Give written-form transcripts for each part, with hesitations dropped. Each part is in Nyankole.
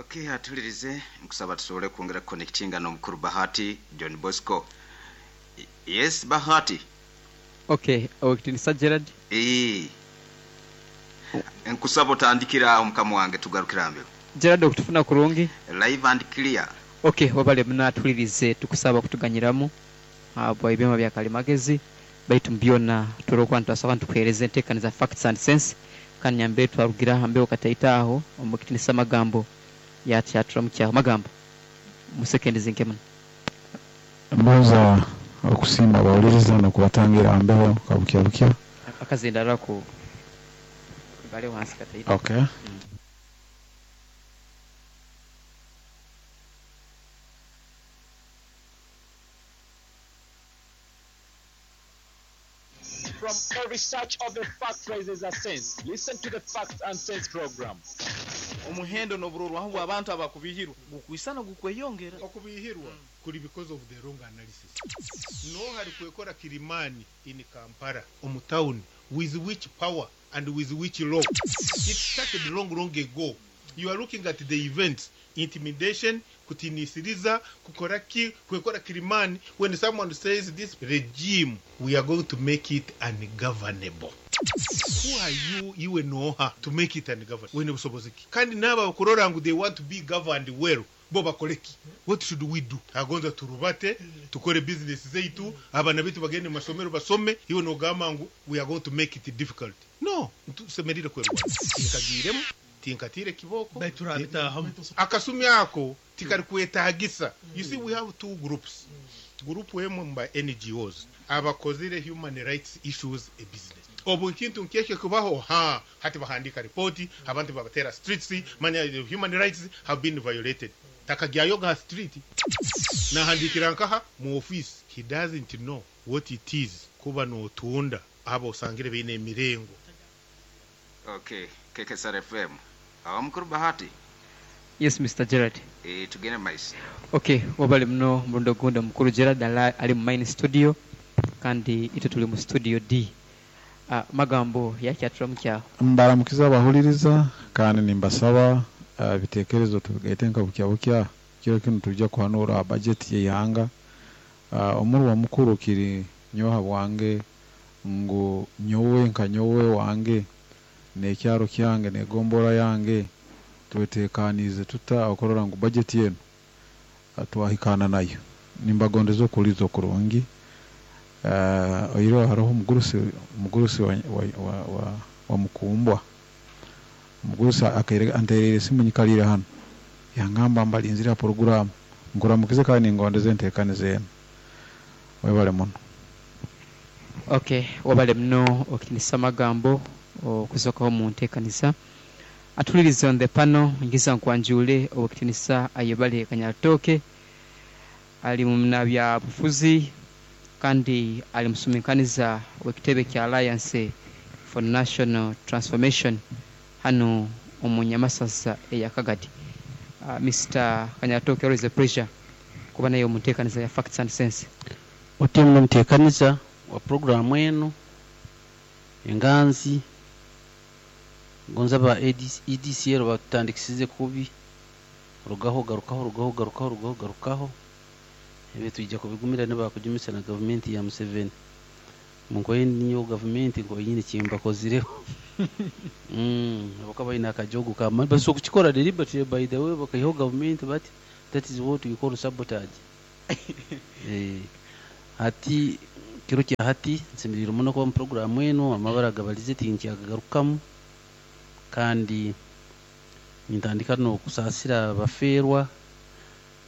Okay, atulirize nkusaba tusobole kwongera kuconnectinga n'omukuru Bahati John Bosco. Yes, Bahati. Okay, Owekitinisa Gerald. Eeh. Nkusaba otandikire aho mukama wange tugarukire aha mbeho. Gerald okutufuna kurungi? Live and clear. Ok webale muno atuhulirize tukusaba okutuganyiramu habwa ebyoma bya kalimagezi baitu mubyona turora nitubasobola nitukuhereza entekaniza facts and sense kandi nyambere twarugira aha mbeho kataito aho omukitinisa Magambo yakyaturamukyaho Magambo mu seconds nke muno. Mbanza okusiima abahuliriza n'okubatangira aha mbeho ka bukya bukya. Akazindaro ako ibale wansi kataito. Okay. From every search of the fact raises a sense. Listen to the Facts and Sense program. Omuhendo n'oburorwaho bw'abantu abakubihirwa gukwisana gukweyongera. Okubihirwa kuri because of the wrong analysis. Noha arikwekora kirimani in Kampala omu town with which power and with which law? It started long long ago. You are looking at the events, intimidation, kutinisiriza, kukora ki, kwekora kirimani. When someone says this regime, we are going to make it ungovernable. Who are you, iwe noha, to make it ungovernable? Wine busobozi ki? Kandi n'abo abakurora ngu they want to be governed well, bo bakore ki? What should we do? Agonza turubate, tukore business zaitu, abaana baitu bagende mu masomero basome, iwe nogamba ngu we are going to make it difficult. No, tusemerire kwerwana. Tinkagiiremu, tinkatiire kibooko. Baitu turabitahamu. Akasumi ako tikarikwetagisa. You see, we have two groups. Group emwe mu ba NGOs abakozire human rights issues a business. Obu ekintu nk'ekyo kubaho, ha, hati bahandika ripoti, abantu babatera streets, manya human rights have been violated. Takagyayoga ha street. Nahandikira nkaha mu office. He doesn't know what it is kuba notunda abo osangire baine emirengo. Okay, KKSR FM. Awo mukuru Bahati. Yes Mister Gerald. Eh, tugende maiso. Ok webale muno omurundi ogundi omukuru Gerald ali mu main studio kandi itwe tuli mu studio D. Magambo yakyaturamukyaho. Mbaramukize abahuliriza kandi nimbasaba ebitekerezo tubigaite nka bukya bukya kiro kinu nitwija kuhanuura ha bajeti y'eihanga. Omurwa mukuru kiri nyowe habwange ngu nyowe nka nyowe wange n'ekyaro kyange n'egombora yange twetekaniize tuta okurora ngu bajeti enu twahikaana nayo. Nimbagondeza okuhuliiriza okurungi. Oihireho haroho omugurusi omugurusi wa, wa, wa, wa, wa Mukumbwa. Omugurusi akaire antereire esimu nyikaliire hanu yangamba mbalinzire ha puroguraamu. Nkuramukize kandi ningondeza enteekaniza enu. Webale muno. Ok webale muno okitinisa amagambo okuzokaho omuntekaniza. Atuhulirize on the panel ngiza nkwanjuule Owekitinisa Ayebare Kanyarutooke ali munabyabufuzi kandi ali musuminkaniza wekitebe kya Alliance for National Transformation hanu omu Nyamasaza eya Kagadi. Mister Kanyarutooke always a pleasure kuba naiwe omuntekaniza ya Facts and Sense. Oti muno omuteekaniza wa puroguraamu enu Enganzi, gonza aba EDCL batutandikisize kubi, rugaho garukaho, rugaho garukaho, rugaho garukaho, ebi twija kubigumira nibakujumisa na gavumenti ya Museveni. Nkoye nyowe gavumenti nkoye nyine ekimbakozireho. Habwokuba baine akajogo k'amaani. Basobola kukikora deliberately by the way bakaihaho gavumenti bati, that is what we call sabotage. Hati kiro kya hati nsemeriirwe muno kuba omu puroguraamu enu, amabara agabalize tinkyagagarukamu kandi nintandika n'okusaasira abafeerwa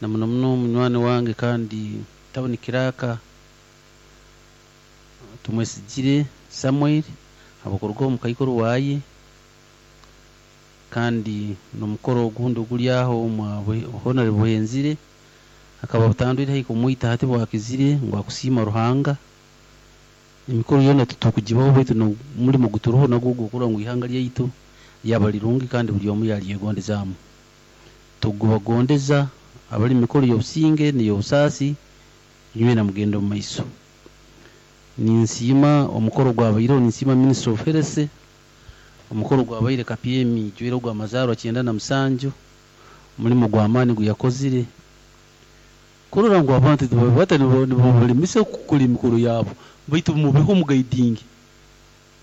na muno muno munywani wange kandi tawuni kiraaka Tumwesigire Samuel habw'okuruga omu kaikuru waaye kandi n'omukoro ogundi oguri aho omwa Honore Buhenzire akaba butandwire haihi kumwita hati bwakizire ngu akusiima Ruhanga. Emikoro yoona titukugibaho baitu n'omurimo oguturuho nagwo ogw'okurora ngu ihanga ryaitu ryaba rirungi kandi buri omu yaryegondezaamu. Tugubagondeza abari omu mikoro y'obusinge n'ey'obusaasi nywena mugende omu maiso. Ninsiima omukoro ogwabaireho, ninsiima Ministry of Health, omukoro ogwabaire Kapyemi jwaire ogw'amazaarwa 97, Omurimo gw'amaani gu yakozire kurora ngu abantu tibabata nibabalemesa kukora emikoro yaabo baitu mubeho mugaidinge.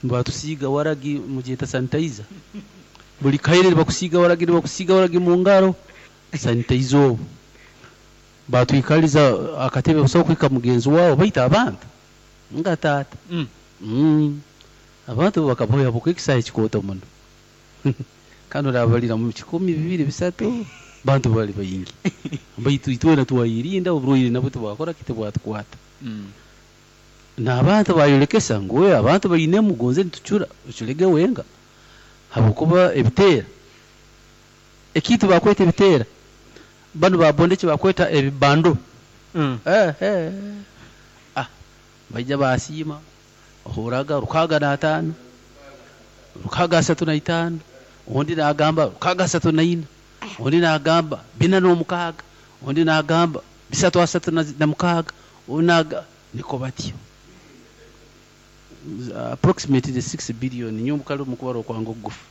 Nibatusiiga waragi mugyeta sanitizer. Buri kaire nibakusiiga waragi nibakusiiga waragi mu ngaro sanitizer obu. Batwikaliza akatebe busaho kuhika mugenzi waawe baitu abantu nga taata. Abantu bakaboya buka ekisaahe kikooto muno. Kandi orabalira mu 1000, 2, 3 bantu bali baingi. Baitu itwena twayirinda oburwaire nabwo tibwakora ki tibwatukwata. N'abantu bayolekesa ngu we abantu bainemu gonze nitucura oculege wenga habwokuba ebiteera ekintu bakweta ebiteera banu babonda eki bakweta ebibando. Baija basiima ohuraga 65, 635, ondi nagamba 634, ondi nagamba 406, ondi nagamba 336, ondi naga niko batyo. Approximately 6 billion nyo mukali omukubara okwange okugufu.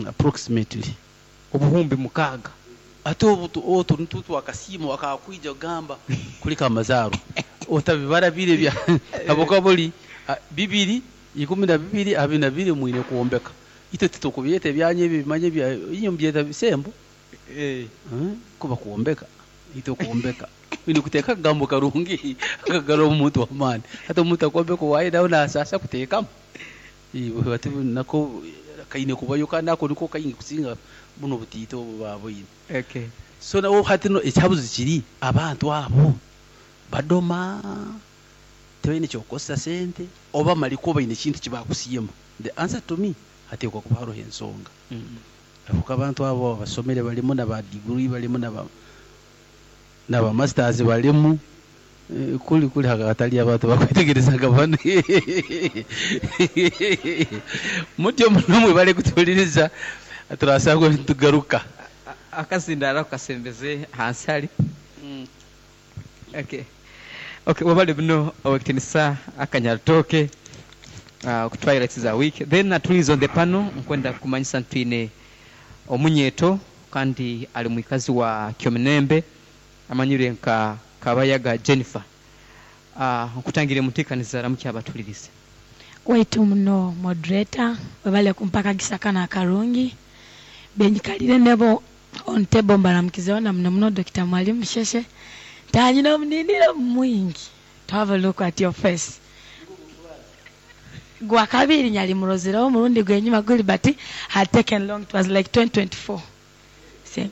Approximately. Obuhumbi mukaaga. Ate obu otu nitwo twakasiima akakwija kugamba kuleka amazaarwa. Otabibara biri ebya habwokuba buli bibiri ikumi na bibiri abiri na bibiri mwine kwombeka. Itwe titukubyeta ebyanyu ebi bimanye bya inywe mubyeta bisembo. Kuba kwombeka. Itwe kwombeka. Wine kuteeka akagambo karungi akagarura omuntu w'amaani. Hati omuntu akwombeka owaaye nawe naasaasa kuteekamu. Bati nako kaine kubayo kandi ako niko kaingi kusinga buno obutiito obu baaboine. So nawe hati no ekihabuzo kiri abantu abo badoma tibaine ky'okukozesa sente oba malikwo baine ekintu eki baakusiima. The answer to me hateekwa kuba haroho ensonga. Habwokuba abantu abo abasomere barimu na ba degree barimu na ba na ba masters barimu kuri kuri hatari abantu bakwetegerezaga banu. Mutyo muno mwebale kutuhuliriza turasangwa nitugaruka. Akazindaro kasembeze hansi hari. Okay. Okay, wabale buno owekitinisa akanyaritoke okutwahira za week. Then natuliza on the panel nkwenda kumanyisa ntwine omunyeto kandi ali mwikazi wa Kyomunembe amanyire nka Kabayaga Jennifer. Nkutangire muteekaniza ramukya abatulirize. Waitu muno moderator webale kumpaka gisaka na karungi benyikalire nebo on table mbaramukizeho na muno muno Dr. Mwalimu Sheshe tanyina omuniniro mwingi to have a look at your face. Gwa kabiri nyali murozireho murundi gwenyuma guli but had taken long, it was like 2024. See?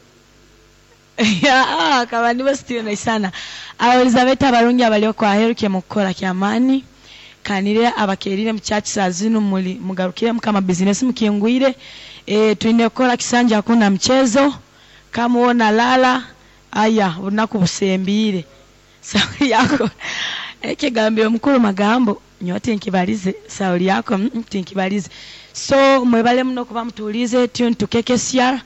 Yeah, kaba nibo still na sana. Elizabeth abarungi abalio kwa heruke mukora kyamani kanire abakerire mu church saa zinu muli mugarukire mukama business mukingwire twine kukora kisanja hakuna mchezo kama uona lala aya unaku busembire sauli yako ekigambiro mukuru magambo nyote nkibalize sauli yako tinkibalize. So mwebale muno kuba mutulize tune to KKCR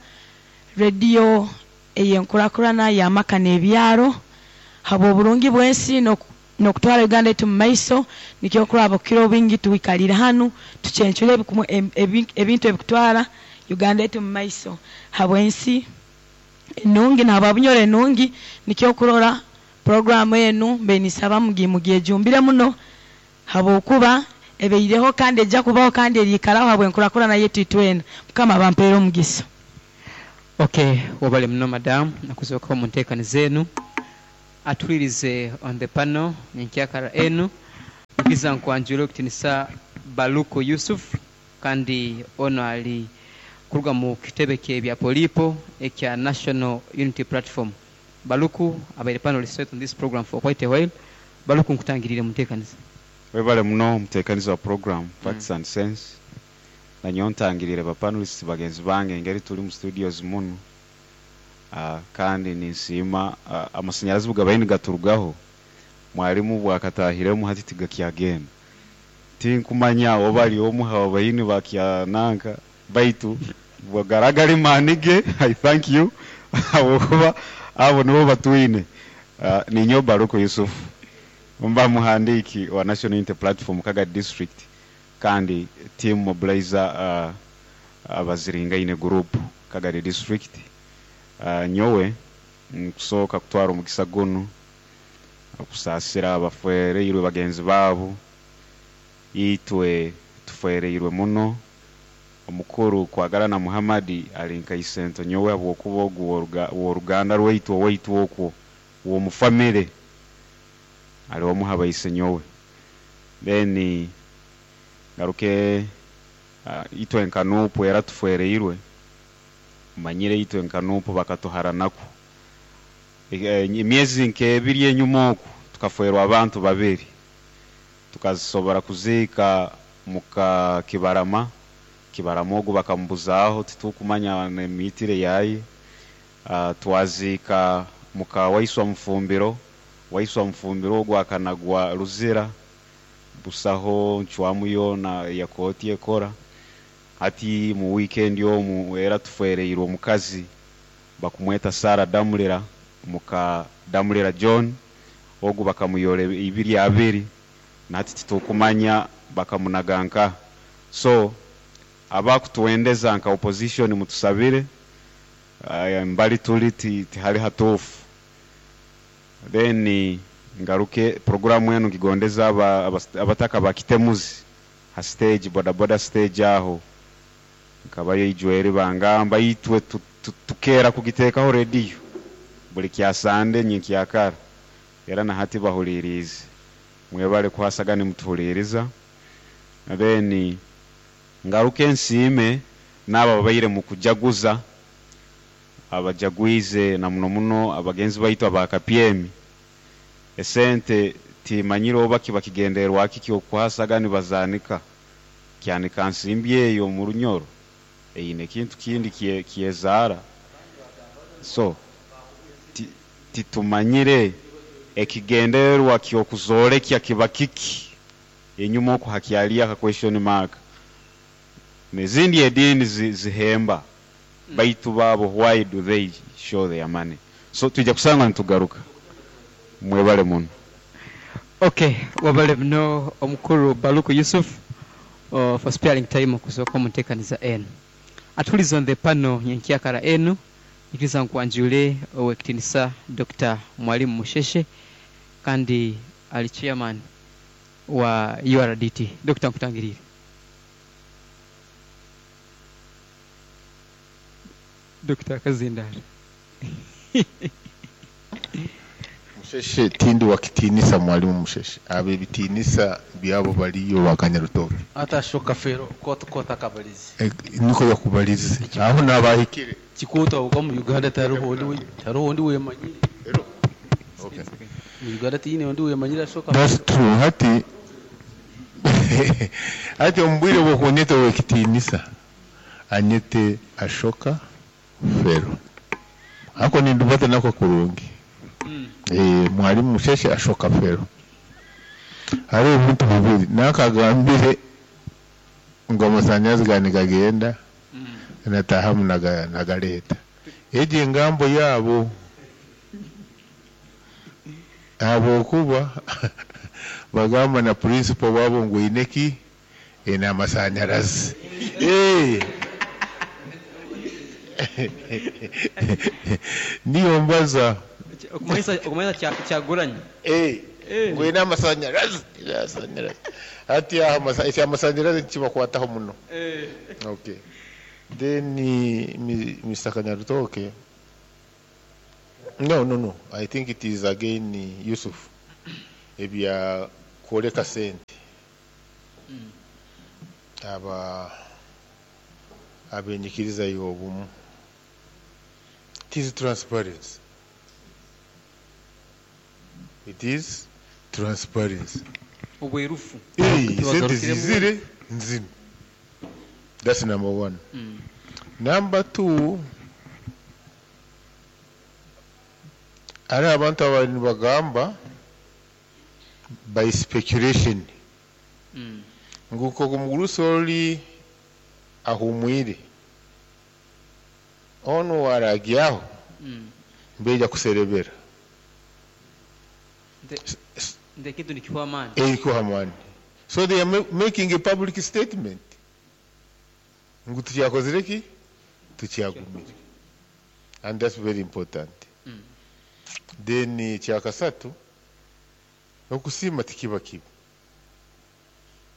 radio eyenkurakurana ya maka n'ebyaro habo oburungi bwensi n'okutwara Uganda etu mu maiso nikyo kuraba kiro bingi tuwikalira hanu tucencure ebintu ebikutwara Uganda etu mu maiso habo ensi enungi nabo abunyore enungi nikyo kurora program enu mbenisaba mugimugiyejumbire muno habo kuba ebeireho kandi ejja kubaho kandi erikaraho habwe nkurakurana yetu itwena Mukama bampere omugisa. Okay, wabale muno madam nakuzoka mu nteekani zenu atulirize on the panel nyenkyakara enu ngiza nkwanjura okutinisa Baluku Yusuf kandi ono ali kuruga mu kitebe kye bya polipo ekya National Unity Platform. Baluku abaire panelist on this program for quite a while. Baluku nkutangirire mu nteekaniza. Webale muno muteekaniza wa program Facts and Sense. Na nyowe ntangirire ba panelists bagenzi bange engeri turi mu studios muno. Kandi ninsiima amasanyarazi bugabaye nigaturugaho mwalimu bwakatahiremu hati tigakyagenda tinkumanya oba ari omuha obayini bakyananka baitu bwagaragara manige. I thank you habwokuba abo nibo batwine. Ninyo Baruko Yusuf mba muhandiki wa National Unity Platform Kagadi District kandi team mobilizer abaziringaine group Kagadi District. Nyowe nkusooka kutwara omugisa gunu okusaasira abafwereirwe bagenzi baabo. Itwe tufwereirwe muno. Omukuru Kwagarana Muhammad ali nka isento nyowe habwokuba ogu w'oruganda rwaitu owaitu okwo w'omu famire ali omu ha baise nyowe. Then ngaruke itwe nka NUP era tufwereirwe. Omanyire itwe nka NUP bakatuharanakwo. Emyezi nk'ebiri enyuma oku tukafwerwa abantu babiri. Tukasobora kuziika muka Kibarama. Kibarama ogu bakamubuzaaho titukumanya n'emiitire yaye. Twaziika muka Waiswa Mufumbiro. Waiswa Mufumbiro ogu akanagwa Luzira. Busaho ncwamu yoona ya kooti ekora. Hati mu wiikendi omu era tufwereirwe omukazi bakumweta Sarah Damulira muka Damulira John. Ogu bakamuyora ibiri abiri na hati titukumanya bakamunaga nkaha. So abakutwendeza nka opposition mutusabire, mbali tuli tihali hatuufu. Then ngaruke programu enu ngigondeza abataka bakitemuzi ha stage, bodaboda stage aho nkabayo ijweri bangamba itwe tukeera kugiteekaho rediyo buli kyasande nyenkyakara era na hati bahuliriize. Mwebale kuhasaga nimutuhuliriza. Then ngaruke nsiime n'abo ababaire mu kujaguza, abajagwize na muno muno abagenzi baitu aba Kapyemi. Esente timanyire oba kiba kigendererwa ki ky'okuhasaga nibazanika kyanika nsimbi eyo mu Runyoro eine ekintu kindi kyezaara. So titumanyire ekigendererwa ky'okuzolekya kiba kiki enyuma oku hakyaliyo aka question mark. N'ezindi ediini zihemba baitu baabo why do they show their money? So twija kusanga nitugaruka. Mwebale muno. Okay, wabale muno omukuru Baluku Yusuf for sparing time okusooka omu nteekaniza enu. Atuliza on the panel nyenkyakara enu nikiriza nkwanjule owekitinisa Dr. Mwalimu Musheshe kandi ali chairman wa URDT. Dr. nkutangirire. Dr. Kazindara. Musheshe tindi wakitinisa Mwalimu Musheshe. Abe bitinisa byabo baliyo bakanyarutoke. Ata shoka fero kota kota kabalizi. Niko yakubalizi. Aho nabahikire. Kikota uko mu Uganda tariho ndi tariho ndi wemanyire. Okay. Mu Uganda tiyine ndi wemanyire shoka. That's true. Hati hati ombwire bwokunyeta wekitinisa. Anyete Ashoka Fero. Ako nindubata nako kurungi. Mwalimu Musheshe Ashoka Fero. Hari ebintu bibiri nakagambire ngo amasanyazi gani gagenda natahamu nagaleta egi engambo yabo habwokuba bagamba na principal wabo ngu ineki ena amasanyarazi. Niyo mbaza Okumanyisa kyaguranye. Ngu ena amasanyarazi. Hati amasanyarazi kibakwataho muno. Okay. Then Mr. Kanyarutoke. No. I think it is again Yusuf. Ebya kwoleka sente. Aba abenyikiriza y'obumu. It is transparency. It is transparency. Obwerufu. Sente zizire nzino. That's number one. Number two, ari abantu abari nibagamba by speculation. Nguko kumugurusi oli ahumwire. Ono waragyaho. Mbeja kuserebera. Nde kitu ni kiwa amani. Kiwa amani. So they are making a public statement. Ngu tukyakozire ki? Tukyagumire. And that's very important. Then ekyakasatu, okusiima tikiba kibi.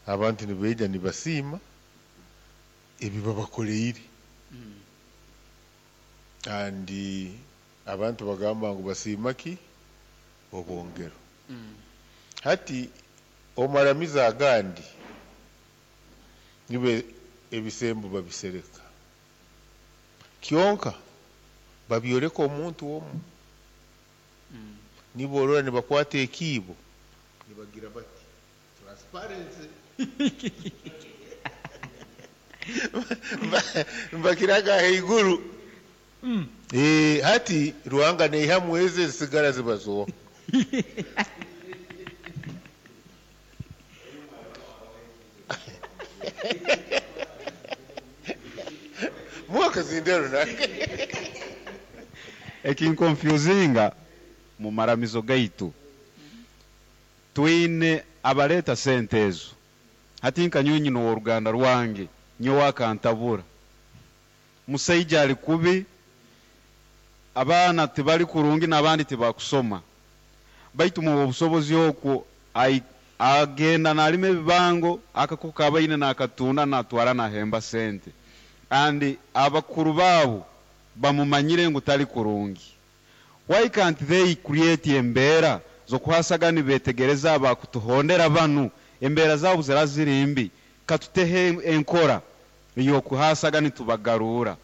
Abantu nibaija nibasiima ebi babakoreire. And abantu bagamba ngu basiima ki? Obwongero. Hati omaramizo agandi nibo ebisembo babisereka. Kyonka babyoleka omuntu omu. Nibo orora nibakwata ekiibo nibagira bati transparency. Mbakiraga ahaiguru. Hati Ruhanga neihamu ezo ezisigara zibazoha. Mwakazindero nange. Ekinkonfusinga mu maramizo gaitu, twine abaleta sente ezo. Hati nka nyowe nyine ow'oruganda rwange, nyowe akantabura. Musaija ali kubi, abaana tibali kurungi n'abandi tibakusoma. Baitu mu obusobozi okwo agenda nalima ebibango, akako kabaine nakatunda natwara nahemba sente. And abakuru baabo bamumanyire ngu tali kurungi. Why can't they create embeera z'okuhasaga nibetegereza abakutuhondera banu, embeera zaabo zira ziri mbi, katutehe enkora ey'okuhasaga nitubagarura.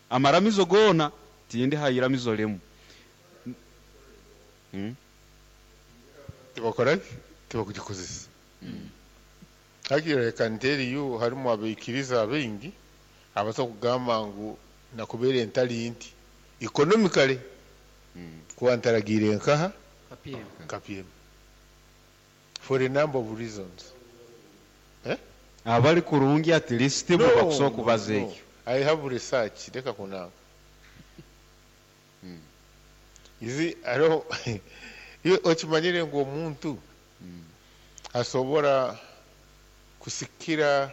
Amaramizo goona tindi ha iramizo limu. Tibakora ki? Tibakugikozesa. Hakiri I can tell you harimu abaikiriza abaingi abasobola kugamba ngu nakubeera entari nti economically kuba ntaragiire nkaha KPM for a number of reasons. Abali kurungi at least bo bakusobola kubaza ekyo. I have research, leka kunanga. You see, hariho iwe okimanyire ngu omuntu asobora kusikira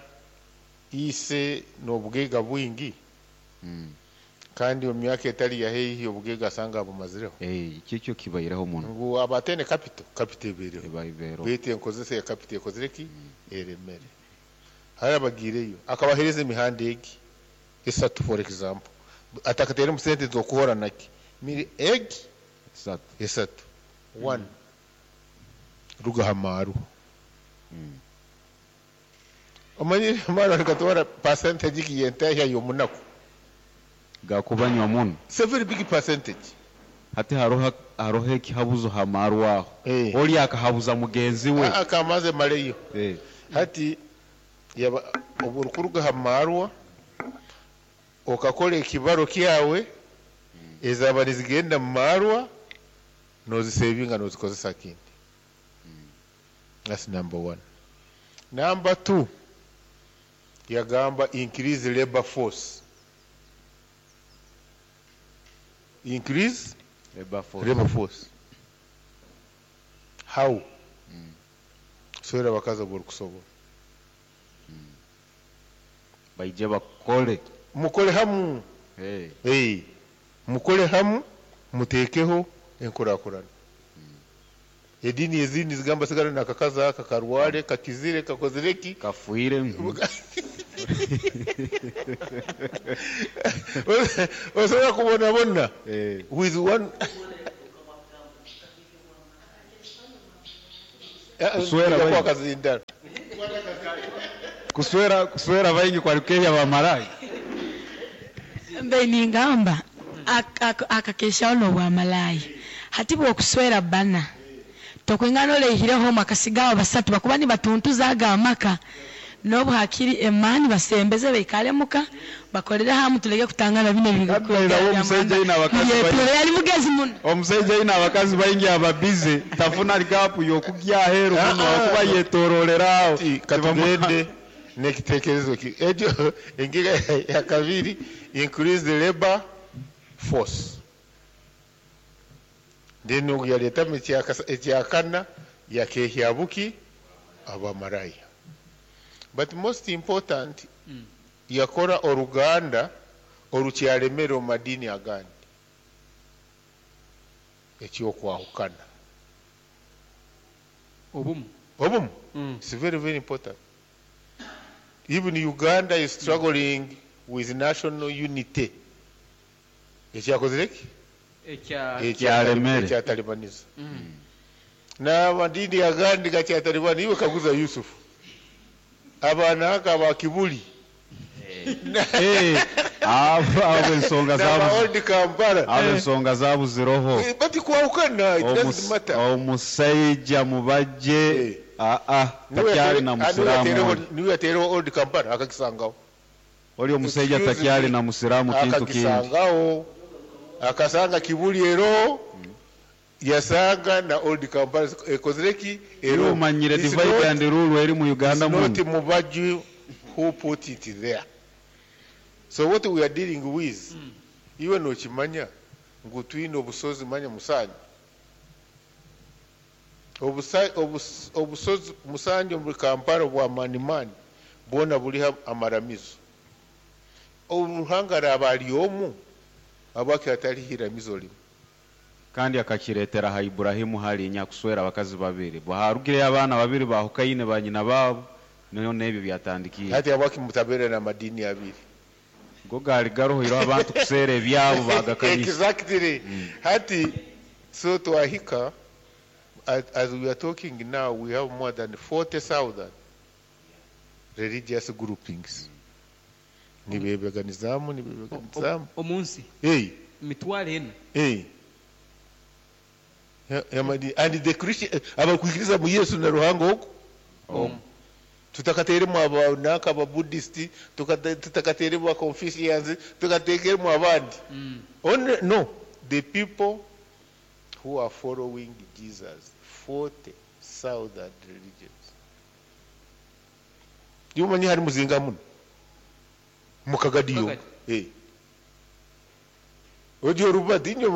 ise n'obugaiga bwingi kandi omu myaka etali ya haihi obugaiga asanga abumazireho. Ekyo kyo kibaireho muno. Ngu aba ataine capital, capital ebaireho. Eba ebaireho. Baitu enkozesa ya capital ekozire ki? Eremere. Hariho abagiireyo akabaheereza emihanda egi esatu for example, atakateiremu sente z'okuhora naki, miri egi esatu. Esatu. One, ruga ha maarwa. Omanyire amaarwa nigatwara percentage ki y'entahya y'omunaku? Gakubanywa muno. It's a very big percentage. Hati haroho haroho ekihabuzo ha maarwa aho. Oli akahabuza mugenzi we. Akamaze maleyo. Hati yaba obu orikuruga ha maarwa okakora ekibaro kyawe, ezaba nizigenda mu maarwa nozisevinga nozikozesa kindi. That's number one. Number two, yagamba increase labor force. Increase labor force. Labor force. How? Swera abakazi aborikusobola. Baije bakole. Mukole hamu. Mukole hamu, mutekeho enkurakurana. Edini ezindi zigamba sigara nakakazi aka karware, kakizire, kakozire ki? Kafuire. Osobola kubonabona. With one Kuswera kwa baingi. kazindaro. Kuswera, kuswera baingi kwa Kenya bamarai. Mbe ningamba akakeshaho n'obwamalaaya. Hati bw'okuswera bana tokwingana oleihireho akasigaho basatu bakuba nibatuntuza aga amaka n'obu hakiri emaani basembeze baikare muka bakorere hamu tuleke kutangana bino Kabla omusajja ayina abakazi ebintu yali mugezi muno. Omusajja ayina abakazi baingi ababize tafuna gapu y'okugya aheeru muno akuba yetororera aho. Katugende n'ekitekerezo ki ekyo engiga ya kabiri, increase the labor force. Then ogu yaleetamu ekyakana yakehya buki abamaraya. But most important, yakora oruganda orukyaremere omu madiini agandi. Eky'okwahukana. Obumu. Obumu. It's very, very important. Even Uganda is struggling with national unity. Ekyakozire ki? Ekyaremere. Ekyatalibaniza. N'amadiini agandi gakyatalibana. Iwe kaguza Yusuf. Abaana aka aba Kibuli. Eh, abo abo ensonga N'aba zabu Old Kampala. abo ensonga zabuziroho. Eh, Bati kwahukana, it doesn't matter. Omusajja mubajje Eh. aa takyali na musiraamu oli. Niwe yateereho Old Kampala akakisangaho. Oli omusajja Excuse takyali me. na musiraamu kintu kindi. Akakisangaho. Akasanga Kibuli ero yasanga na Old Kampala ekozire ki? Iwe omanyire It's divide not- and rule eri mu Uganda It's not muno. Mubaju who put it there. So what we are dealing with, iwe nokimanya ngu twine obusozi manya musanju. Obusozi musanju omuri Kampala bwa manimani bwona buriho amaramizo. Oruhanga araba ari omu abaki hatariho iramizo rimwe. Kandi akakireetera ha Iburahimu halinya kuswera abakazi babiri. Bwaharugireyo abaana babiri bahukaine banyina baabo niho n'ebyo byatandikiire. Hati abaki mutabeere n'amadiini abiri. Go gaali garuhire abantu kuseera ebyabo bagakanyisa. Exactly. Hati, so twahika, as we are talking now, we have more than 40,000 religious groupings. Nibebeganizamu, nibebeganizamu. Omunsi. Hey, Emitwaro ena. hey. And the Christian, abakwikiriza mu Yesu na Ruhanga oku. Tutakateeremu abanaka aba Buddhist, tutakateeremu aba Confucians, tukateekemu abandi. Only, no, the people who are following Jesus, 40,000 religions. Yumanyi hari muzinga muno. Mukagadiyo. Mukagadi. Eh. Ojo rubadi nyo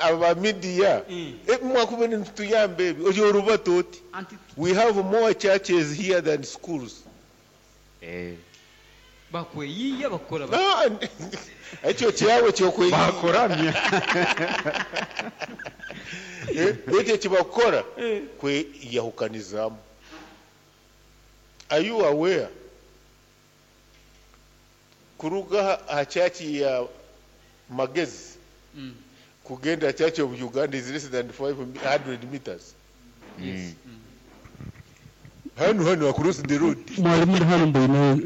aba media. Eh, mwakubene ntuyambe ebi. Ojo rubati oti. Anti We have more churches here than schools. Eh. bakweyiya bakora Ah, ekyo kyawe kyokweyiya. Bakuramya. Eh, ekyo kibakora kweyahukanizaamu. Are you aware? Kuruga aha church ya Magezi kugenda Church of Uganda is less than 500 meters. Yes. Hano hano across the road. Mwalimu ndi hano mbona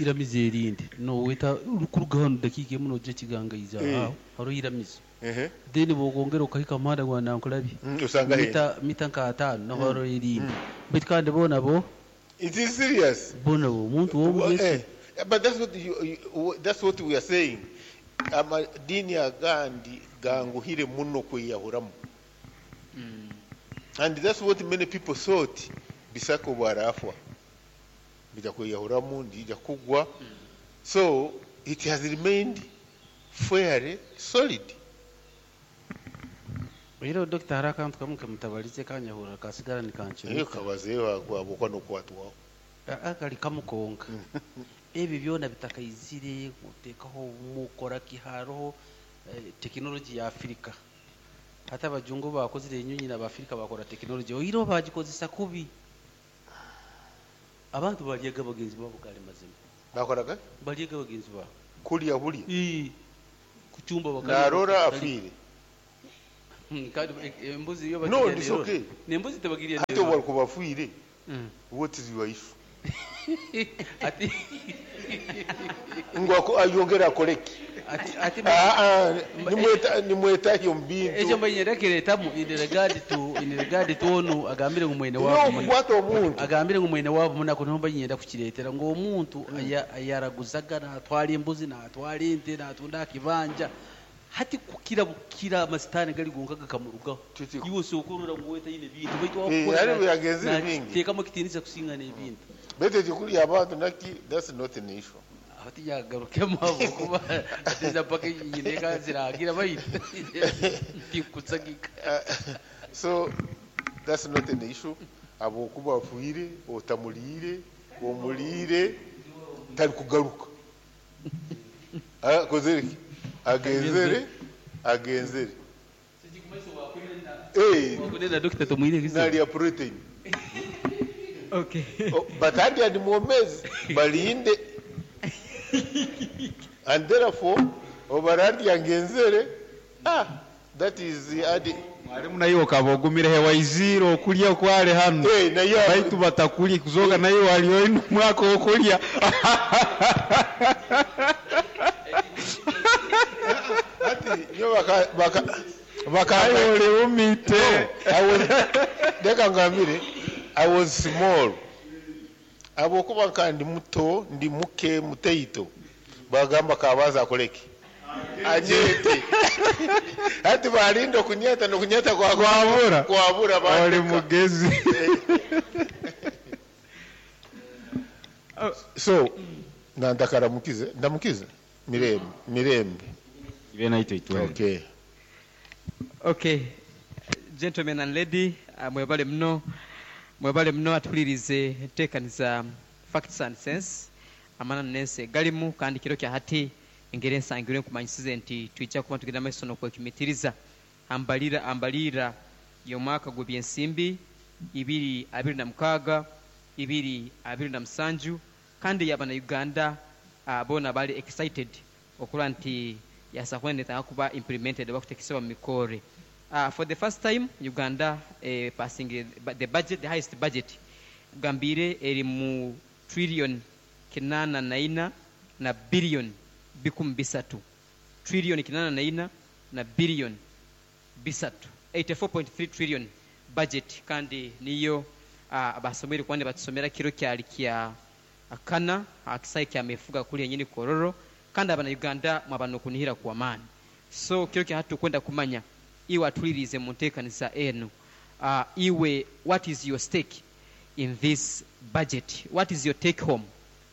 iramizo erindi noweta kuruga hano dakiika emu nojja kigangaiza Eh. aho hariho iramizo Ehe. then bwokongera okahika muhanda gwa Nankulabye Osanga he. mita nka ataano naho hariho erindi baitu kandi boona bo It is serious. boona bo omuntu w'omu Eh, but that's what that's what we are saying. Amadini agandi ganguhire muno kweyahuramu. And that's what many people thought bisako bwarafwa. Bija kweyahuramu ndija kugwa. So it has remained fairly solid. Era dokita hariho akantu kamwe kamutabarize kanyahura kasigara Naye nikankira kabazeeyo abokwa n'okwatwaho. Kali kamukonka ebyo byona bitakaizire kuteekaho mukora ki hariho tekinologi ya Afirika hati abajungu bakozire enyonyi n'abafirika bakora tekinologi oireho bagikozesa kubi abantu balyega bagenzi babo gali mazima Bakoraga balyega bagenzi babo kulya bulya. Ii, kuchumba bakalya Narora bakalya. afiire. Kandi embuzi yo No, bagirya it's nerora. okay. N'embuzi tebagirya Ate nerora. walikuba afiire. What is your issue? Ati Ngu ayongere akoleki. ati ati Ah, ah, nimwetayo mu bintu. ekyo mbanyenda kiretamu in regard to onu agambire ngu mwene No, wabo okukwata omuntu. agambire ngu mwene wabo munako niho mbanyenda kukiretera ngu omuntu ayaraguzaga natwara embuzi natwara ente natunda akibanja hati kukira bukira amasitani gali gonka gakamurugaho iwe osokorora ngu wetaine bintu baitu Eh, wakukora hariho byagenzire bingi. teekamu ekitiinisa kusinga n'ebintu Bete ekikuli abantu naki that's not an issue. aho tinyagarukemu habwokuba atiza mpaka nyineka ziragira baitu tinkusagika So that's not an issue. Habwokuba afiire, otamuliire, omuliire, tali kugaruka. Akozere ki? Agenzere, Agenzere. Eh, Wakunena Dr. Tumwine kizibu. nalya protein. Okay. Oh, but hadi ndi mwomezi balinde and therefore obararya ngenzere ah that is the adi Mwalimu naye okaba ogumire hewaizire okulya okwale hano. Eh, naye Baitu batakulya kuzoga naye wali oine omwaka okulya. Ati nyo baka baka baka Aye oli umite. I was leka ngambire I was small abokuba nka ndi muto ndi muke muteito bagamba kabaza akoleki anyete ati balinda okunyeta nokunyeta kwa Kwabura. kwabura Oli bandeka. mugezi. So nandakaramukize ndamukize mirembe mirembe. Ibe naito itwele. Okay. Okay, gentlemen and lady, mwebale muno, mwebale muno atulirize enteekaniza Facts and Sense amananu n'ensi egalimu kandi kiro kya hati engeri ensangirwe nkumanyisize nti twijja kuba tugenda maiso n'okwekimitiriza ambalira ambalira y'omwaka gw'ebyensimbi 2026 2027 kandi yaba na Uganda boona bali excited okulaba nti yasakwendetanga kuba implemented oba kutekesebwa mu mikore. For the first time Uganda passing the budget, the highest budget gambire eri mu trillion 84 na billion 300, trillion 84 na billion 300, 84.3 trillion budget kandi niyo abasomere kwandi batusomera kiro kyali kya akana akisayi kya mefuga kuli yenyini kororo kandi abana Uganda mwabano kunihira kwa maani. So kiro kya hatu kwenda kumanya iwe atulirize mu nteekaniza enu, iwe what is your stake in this budget, what is your take home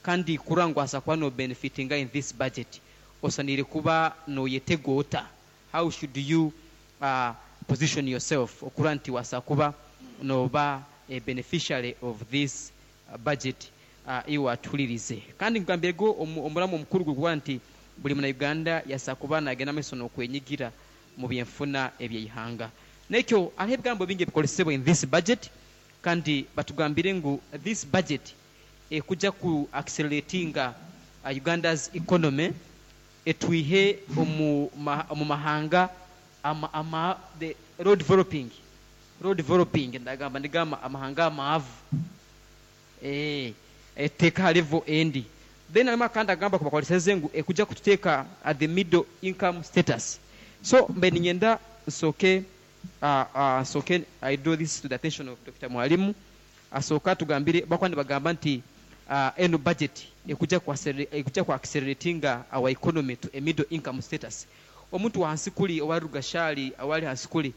kandi kurangwasa kuba no benefitinga in this budget osanire kuba noyetegota, how should you position yourself okura nti wasa kuba noba a beneficiary of this budget, iwe atulirize kandi ngambirego omuramu omukuru gwe nti buli muna Uganda yasa kuba nagenda maiso n'okwenyigira mu byenfuna ebyeihanga. Nekyo hariho ebigambo bingi ebikolesebwa in this budget kandi batugambire ngu this budget ekujja ku acceleratinga Uganda's economy etwihe omu mahanga ama, ama, the road developing, road developing ndagamba ndigamba amahanga amaavu eteeka ha level endi. Then harimu akandi agamba kubakoleseze ngu ekujja kututeeka at the middle income status. So mbe ninyenda nsooke nsooke I draw this to the attention of Dr. Mwalimu asooka atugambire bakuba nibagamba nti eno budget ekujja ku ekujja ku acceleratinga our economy to a middle income status. Omuntu wansi kuli owali rugashali awali hansi kuli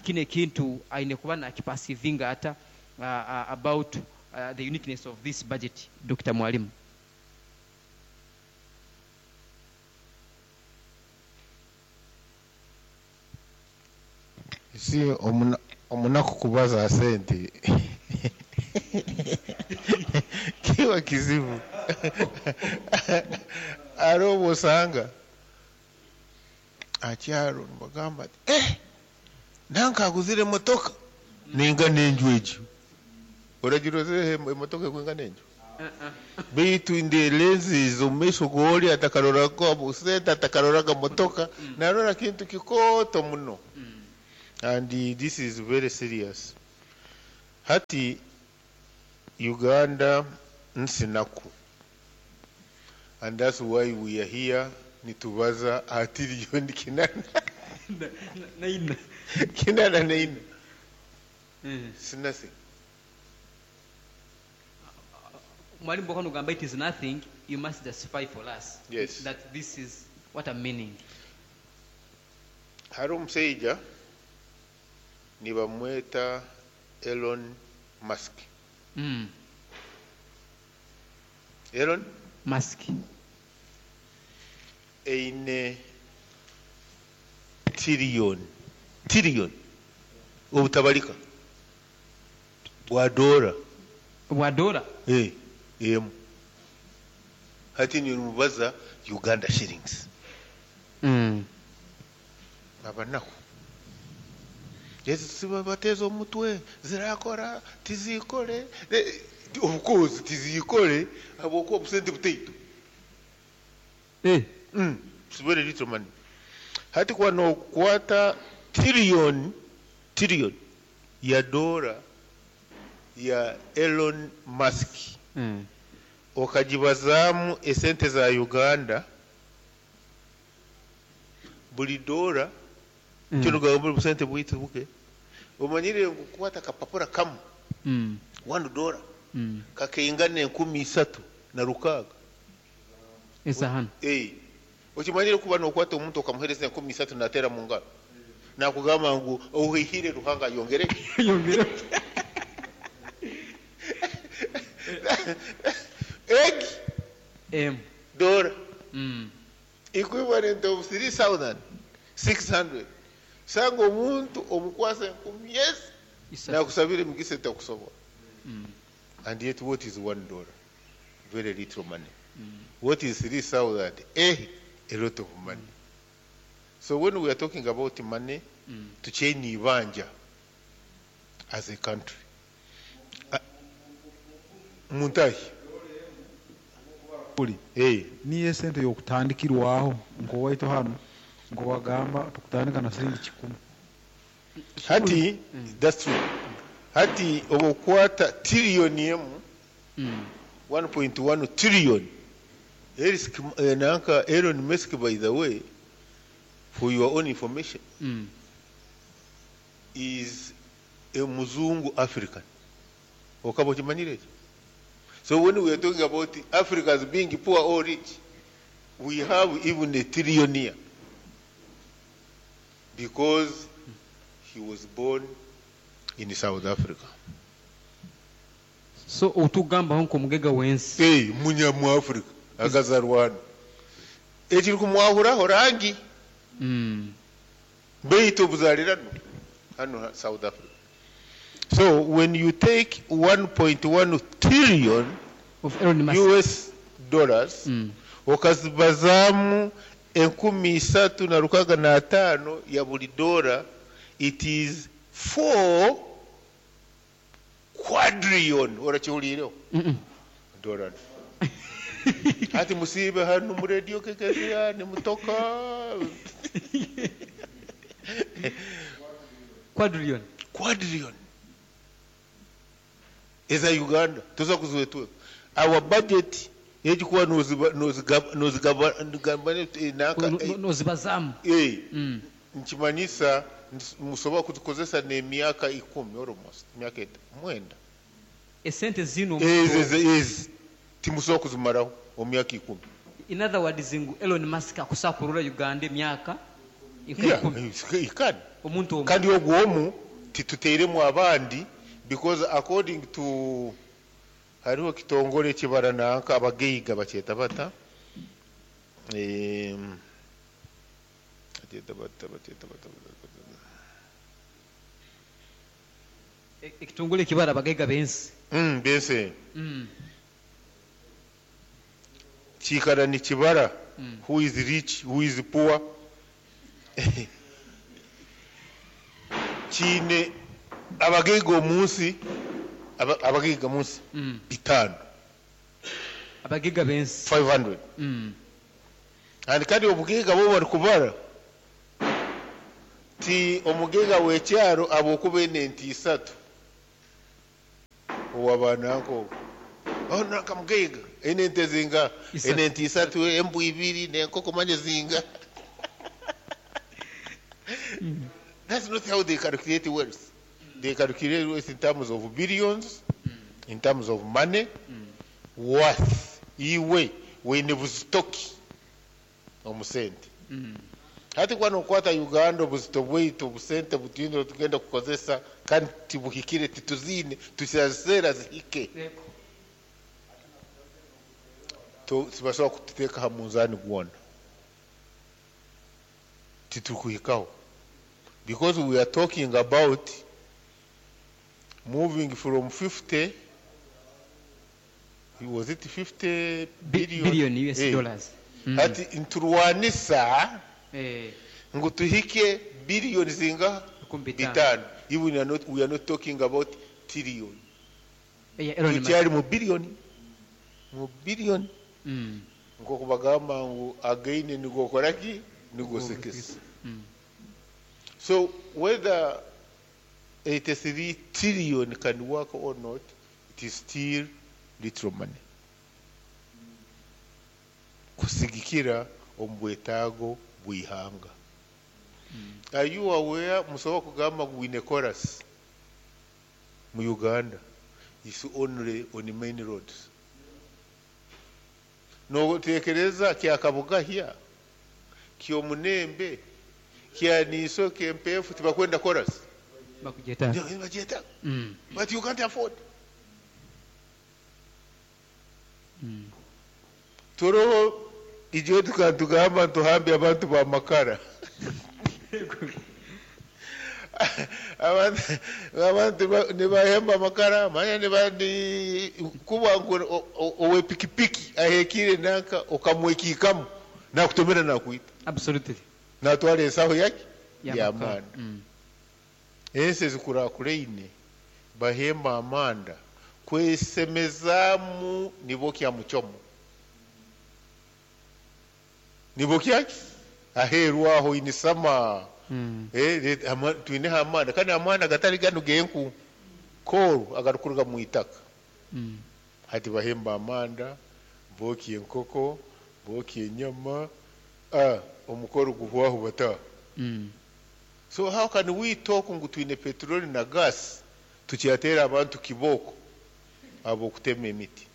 kino ekintu aine kuba nakipasivinga ata about the uniqueness of this budget. Dr. Mwalimu. Si omunaku kubaza sente kiba kizibu. Ari obwosanga akyaro nibagamba ati nanka aguzire emotoka ninga n'enju egyo oragira ozireho emotoka ekwinga n'enju beitu ndelenziza omu maisho g'ori atakaroraga busente atakaroraga motoka narora kintu kikooto muno. And this is very serious. Hati Uganda nsinaku, and that's why we are here nitubaza atiriyoni kinana naina kinana naina. It's nothing. Mwalimu bw'oba nogamba it is nothing, you must justify for us. Yes. That this is what I'm meaning. Hari omushaija nibamweta Elon Musk. Elon Musk. Eine trillion, trillion obutabalika bwa dola. Bwa dola? Emu. Hati nimubaza Uganda shillings. Abanaku. Ezi bateeza omutwe zirakora tizikore. Of course tizikore habwokuba obusente butaito. It's very little money. Hati kuba nokwata trillion trillion ya dola ya Elon Musk okagibazaamu esente za Uganda, buli dola kino gamba busente bwitu buke, omanyire ngu kukwata akapapura kamu $1 kakaingana 3600. Eza hano. Eh, okimanyire kuba nokwata omuntu okamuhereza 3000 natera mu ngaro nakugamba ngu ohuhire Ruhanga yongere. Yongere. Egi M dola equivalent of 3600. Sanga omuntu omukwasa 1000, yes, nakusabira emigisa etakusobola. And yet what is $1? Very little money. What is 3000? A lot of money. So when we are talking about money, tuchaine ibanja as a country. Muntahi. Uli. Niyo esente yokutandikirwaho nk'owaitu hanu nk'owagamba tukutandika na siringi 1. Hati, that's true. Hati obukwata trillion emu, 1.1 trillion. Eric, nanka Elon Musk, by the way, for your own information, is a Muzungu African. Okaba okimanyire ekyo? So when we are talking about Africans being poor or rich, we have even a trillionaire because he was born in South Africa. So otugambaho nk'omugega w'ensi. Hey, munya mu Africa akazarwa hano. Ekiri kumwahuraho rangi. Beitu obuzalirano hano South Africa. So when you take 1.1 trillion of Elon Musk US dollars, okazibazaamu 3605 ya buli dola, it is 4 quadrillion. Orakihuliireho? Dollars. Ati musiibe hano mu radio kekeziya nimutoka. Quadrillion. Quadrillion. Eza Uganda tuza kuziwetwe. Our budget egikuba nozibazamu. Nkimanyisa musobola kuzikozesa n'emyaka 10 almost myaka 9. Esente zino ezi timusobola kuzimaraho omu myaka 10. In other words, ngu Elon Musk akusakurura Uganda emyaka Yeah, he can. Omuntu omu. Kandi ogwo omu tituteiremu abandi, because according to hariho kitongole kibara nanka abagaiga bakyeta bata, bakyeta bata, bakyeta bata, bata. Ekitongole ekibara abagaiga b'ensi. Bensi. Kikara nikibara who is rich, who is poor. Kiine abagaiga omunsi, abagaiga munsi 500. Abagaiga b'ensi 500. And kandi obugaiga bo bari kubara ti omugaiga w'ekyaro abwokuba ene ente 3 owabananko oh nanka mugaiga ene ente zinga ene ente 3 embu 2 n'enkoko manye zinga. That's not how they calculate wealth. They calculate wealth in terms of billions, in terms of money, worth. Iwe wine buzitoki omusente. Hati kwa nokwata Uganda obuzito bwaitu obusente butwine tugenda kukozesa kandi tibuhikire, tituzine tusazera zihike. Tibasobola kututeeka ha munzani gwona. Titukuhikaho. Because we are talking about moving from 50, was it 50 billion? Billion US dollars. Hati nturwanisa Ngu tuhike billion zingaha? Bitano. Even we are not talking about trillion. Tukyari mu billion. Mu billion. Nk'oku bagamba ngu againe nigokora ki? Nigosekesa. So whether 83 trillion can work or not, it is still little money. Kusigikira omu bwetaago bw'ihanga. Are you aware musobola kugamba ngu wine chorus mu Uganda is only on main roads. Notekereza kya Kabugahya, ky'Omunembe, kya Niiso, ky'Empeefu tibakwenda chorus? Bakugyetaaga. Nibagyetaaga. But you can't afford. Toroho ijo tukatugamba tuhambe abantu ba makara. Abantu nibahemba amakara manya nibandi kuba ngu owe pikipiki ahekire nanka okamwekikamu nakutomera nakwita. Absolutely. Natwara ensaho yake ya manda. Ensi ezikurakureine bahemba amanda kwesemezamu nibokya muchomo. Nibokya aheru aho inisama. Twine amanda kandi amanda gatari gano genku koru agarukuruga mu itaka. Hati bahemba amanda boki enkoko boki enyama omukoro guhwaho bata. So how can we talk ngu twine petroli na gas tukyatera abantu kiboko abo kutema emiti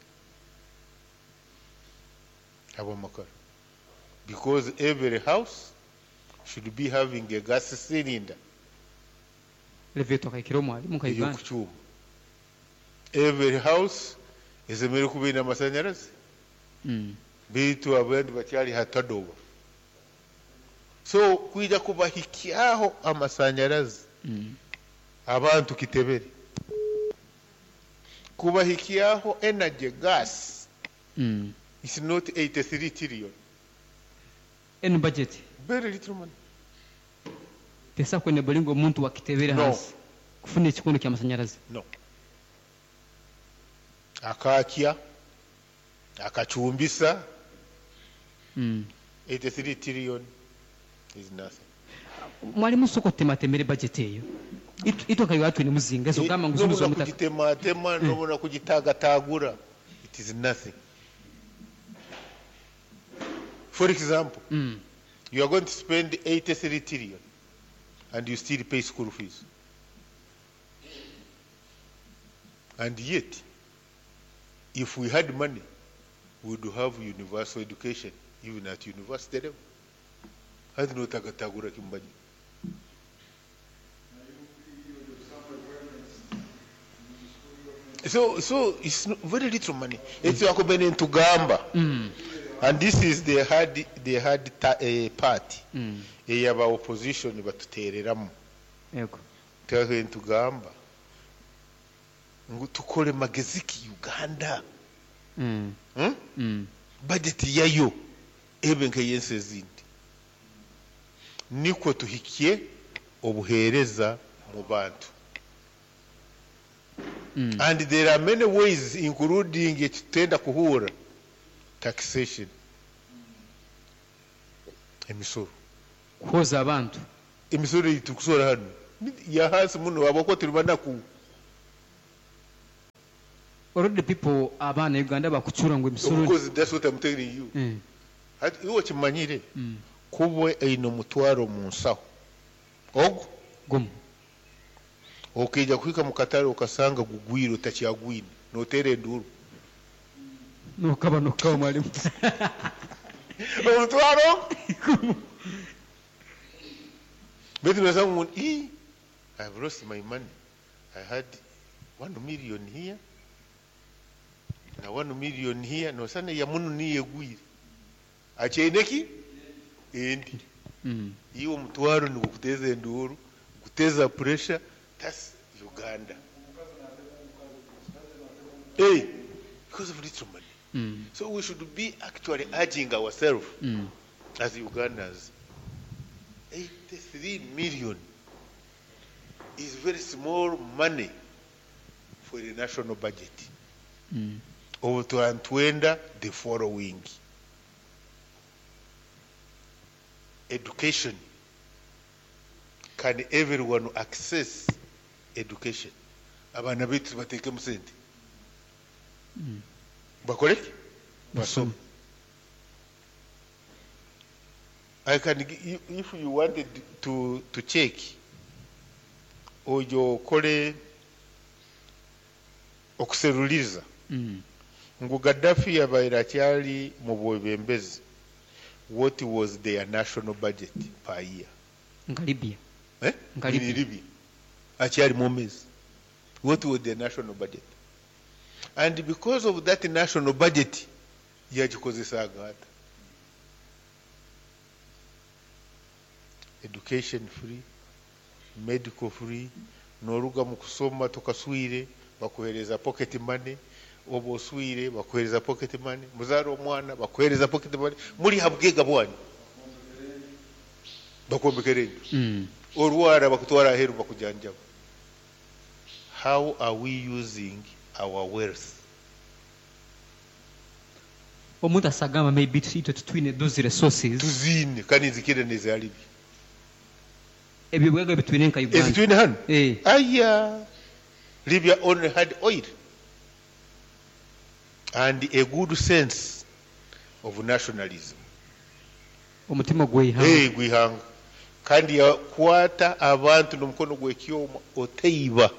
abo makara, because every house should be having a gas cylinder. Elevator kaikiro mwalimu ka Uganda. Kuchuma. Every house esemere kuba ine amasanyarazi. Bitu abandi bakyali hatadoba. So kwija kubahikyaho amasanyarazi. Abantu kitebere. Kubahikyaho energy gas. It's not 83 trillion. Any budget. Very little money. Tesa kwene bolingo omuntu wa kitebere hansi. Kufuna ekikondo kya masanyarazi. No. Akakya akachumbisa. 83 trillion is nothing. Mwalimu soko tema temere budget eyo. Ito kayo watu ni muzinga so kama nguzuzo mutaka. Kujitema tema nobona kujitagatagura. It is nothing. For example, you are going to spend 83 trillion and you still pay school fees. And yet, if we had money, we would have universal education, even at university level. Hati no tagatagura kimbaji. So it's very little money. It's wakubene ntugamba. And this is the hard part. Eyaba opposition batutereramu. Yego. Twahe ntugamba. Ngu tukole mageziki Uganda. Budget yayo ebe nka yensi ezindi. Niko tuhikie obuhereza mu bantu. And there are many ways including ekitenda kuhura taxation. Emisoro. Kuhoza abantu. Emisoro itukusora hano. Ya hasi muno abako tuli banaku. Already people abana Uganda bakuchura ngo emisoro. Because that's what I'm telling you. Hati iwo kimanyire. Kubwe ino mutwaro mu nsaho. Ogo gumu. Okija kuhika mu katare ukasanga gugwiro takyagwine notere nduru. Nokaba nokaba mwalimu. Omutwaro gumu. Betu nasanga I I've lost my money. I had 1 million here. Na 1 million here no sana ya munu niye gwire. Acheneki endi. Iwo mutwaro ni kuteza nduru, kuteza pressure. That's Uganda. Hey, because of little money. So we should be actually urging ourselves as Ugandans. 83 million is very small money for a national budget. Obu twaba nitwenda the following: education, can everyone access education? Abaana baitu tubateekemu sente bakore ki? Basome. I can if you wanted to check, oyo okore okuseruliriza ngu Gaddafi yabaire akyali mu bwebembezi, what was their national budget per year? Nka Libya. Eh? Nka Libya. Libya akyali mwomezi, what was their national budget? And because of that national budget yagikozesaaga ata? Education free, medical free, noruga mu kusoma tokaswire bakuhereza pocket money, oba oswire bakuhereza pocket money, muzaara omwana bakuhereza pocket money, muri ha bwega bwanyu bakwombekera enju, orwara bakutwara aheeru bakujanjaba. How are we using our wealth? Omuntu asagamba maybe itwe tutwine those resources. Tuziine kandi nzikire neza Libya. Ebyo bwega bitwine nka Uganda. Ezitwine hanu? Eh. Aya, Libya only had oil and a good sense of nationalism. Omutima gw'eihanga. Eh, gw'eihanga. Kandi yakwata abantu n'omukono gw'ekyoma, oteiba.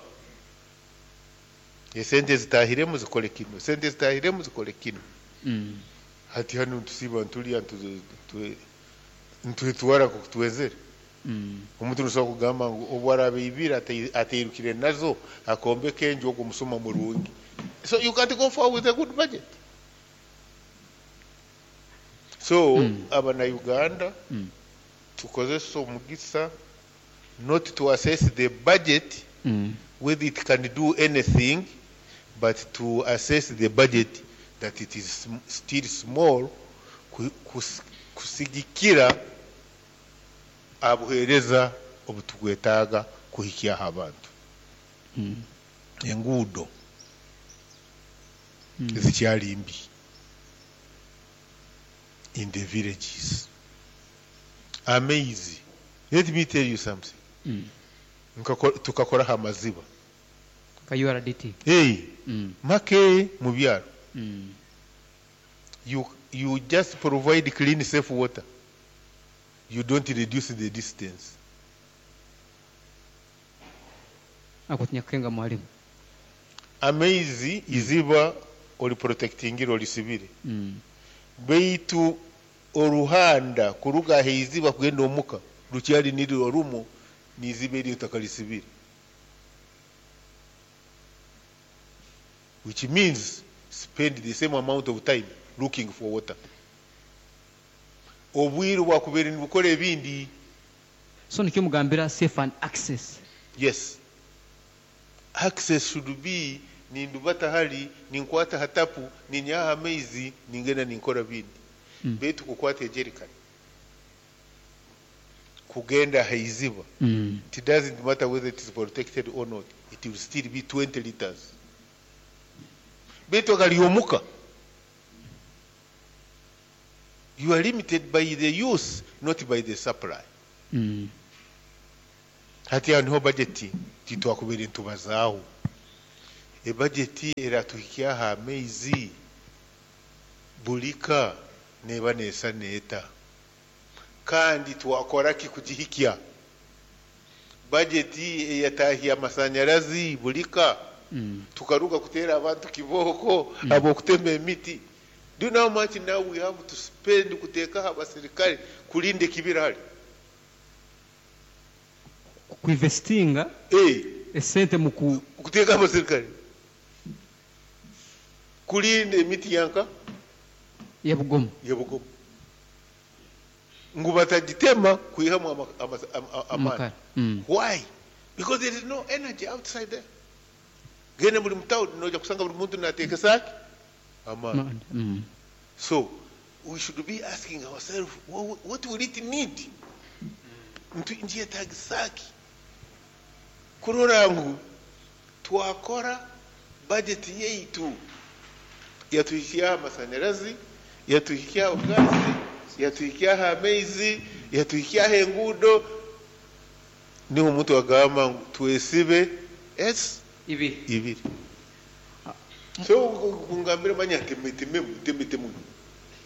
Esente zitahiremu zikole kino, esente zitahiremu zikole kino. Hati hanu ntusiiba ntulya ntwetwara nk'oku twenzere. Omuntu nosobola kugamba ngu obu araaba aibire ateirukire nazo akombeka enju, ogwo musuma murungi. So you can't go forward with a good budget. So abana Uganda tukozese omugisa not to assess the budget, whether it can do anything, but to assess the budget that it is still small kusigikira abuheereza obutukwetaaga kuhikyaho abantu. Enguudo zikyali mbi in the villages. Amaizi, let me tell you something. Tukakoraho amaziba. Nka URDT. Hey, make mu byaro. You just provide clean, safe water, you don't reduce the distance. Ako tinyakukenga mwalimu. Amaizi iziba oli protectingire, olisibire, baitu oruhanda kuruga ahaiziba kugenda omuka rukyali nirwo rumu niziba eryo takarisibire, which means spend the same amount of time looking for water, obwire bwakubeire nibukora ebindi. So nikyo mugambira safe and access. Yes, access should be nindubata hali ninkwata hatapu ninyaha amaizi ningenda ninkora bindi. Baitu kukwata ejerikani kugenda haiziba, it doesn't matter whether it is protected or not, it will still be 20 liters, baitu agalyomuka you are limited by the use, not by the supply. Hati aho niho budget titwakubeire ntubazaaho. Ebudget eratuhikyaho amaizi bulika neba neesa neeta, kandi twakora ki kugihikya? Budget eyatahya amasanyarazi bulika, tukaruga kuteera abantu kibooko ab'okutema emiti. Do you know how much now we have to spend kuteekaho abasirikale kulinda ekibira hali? Kuinvestinga esente mu ku kuteeka abasirikale kulinda emiti yanka ya Bugomo. Ya Bugomo, ngu batagitema kwihamu amaani. Amakara. Why? Because there is no energy outside there. Genda buli mutawuni noja kusanga buli muntu nateekesa ki amaani. So we should be asking ourselves, what will it need? Nkyetagisa ki kurora ngu twakora budget yaitu yatuhikyaho amasanyarazi, yatuhikyaho gaasi, yatuhikyaho amaizi, yatuhikyaho enguudo. Niho omuntu agamba ngu twesibe s Ibiri. Ibiri. So kungambira manya ntemetememu, ntemetemu.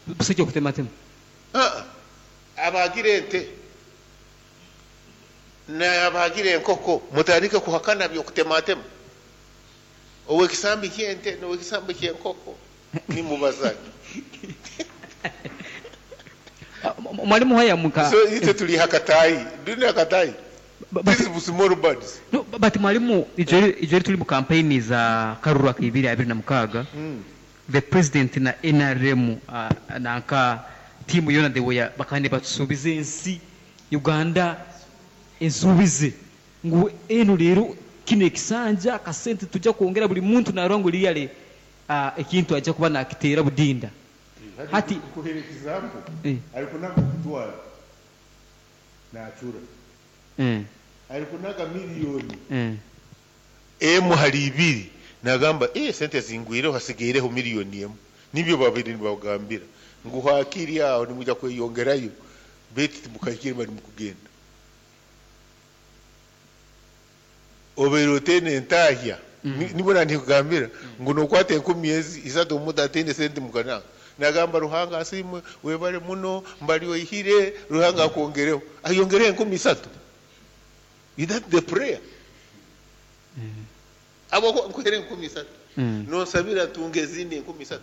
Busijja okutematema. Ah, abagira ente n'abagira enkoko mutandike kuhakana by'okutematema. Ow'ekisambi ky'ente n'ow'ekisambi ky'enkoko nimubazaki? Mwalimu haya muka. So itwe tuli hakatayi, ndine hakatayi. These small birds. No, but mwalimu, ijoro tuli mu campaign za karuru aka 2026, the president na NRM nanka tiimu yona, they were bakande batusuubiza ensi Uganda ensuubize ngu eno leero kino ekisanja akasente tujja kwongera buli muntu narwa ngu liyale ekintu ajja kuba nakiteera budinda hati. Kuhera example, alikunaga kutwara nachura, alikunaga miliyoni emu hali ibiri, nagamba sente zingwireho, hasigaireho miliyoni emu. Nibyo babiri nibagambira ngu hakiri aho nimuja kweyongerayo, beti timukahikire bali mukugenda obeire oteine entahya. Nibona ndikugambira ngu nokwata 3,000 omuntu ateine sente mukananga, nagamba, "Ruhanga asimwe, webale muno, mbali oihire, Ruhanga akwongereho," ayongereho 3,000. Is that the prayer? Abo nkuhere 3,000, nonsabira ntunge ezindi 3,000.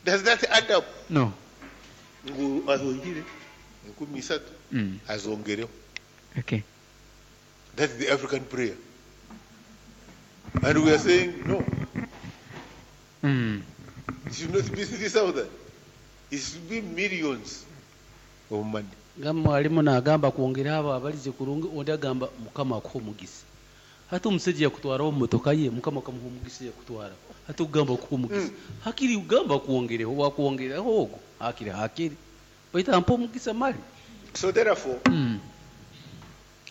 Does that add up? No. Ngu azoihire 3,000, azongereho. That's the African prayer, and we are saying no. It should not be 3000, it should be millions of money. Nga mwalimu nagamba kwongera abo abalize kurungi, ondi agamba Mukama akuha omugisa. Hati omusajja yakutwaraho mumotoka ye, Mukama akamuha omugisa, yakutwara. Hati okugamba okuha omugisa, hakiri ugamba kwongereho, wakwongeraho ogwo hakiri hakiri baitu ampa omugisa mali. So therefore,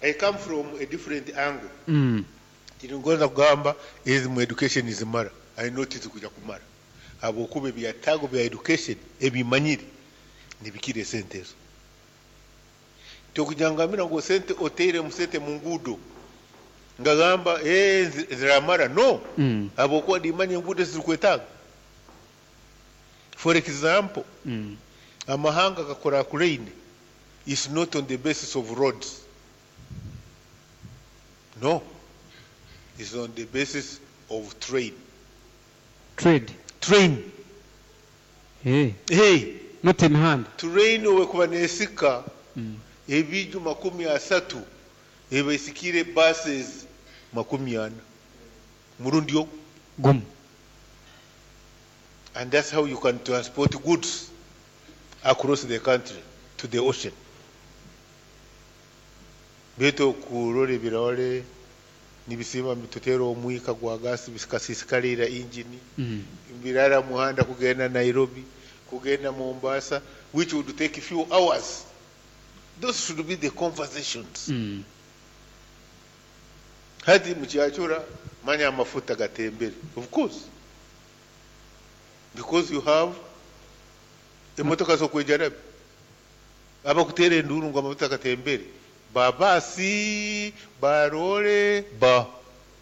I come from a different angle. Tiringonza kugamba ezi mu education zimara. I know tizikuja kumara habwokuba ebyetaago bya education ebimanyire nibikira esente ezo. Tokujangambira ngu sente oteire mu sente mu nguudo, ngagamba ziramara, no, habwokuba ndimanya enguudo zirikwetaaga. For example, amahanga gakuraakuraine is not on the basis of roads, no, it's on the basis of train. Trade. Train. Hey. Hey. Not emihanda. Train owekuba nesika ebiju 30, eba esikire buses 40 murundi ogwo gumu. And that's how you can transport goods across the country to the ocean. Baitu kurora ebirore nibisiba bitutera omwika gwa gasi bikasisikalira engine, birara muhanda kugenda Nairobi, kugenda Mombasa, which would take a few hours. Those should be the conversations. Hati mukyachura manya amafuta gatembere, of course, because you have emotoka zokwejarabi abakutera enduru ngu amafuta gatembere, babasi barole ba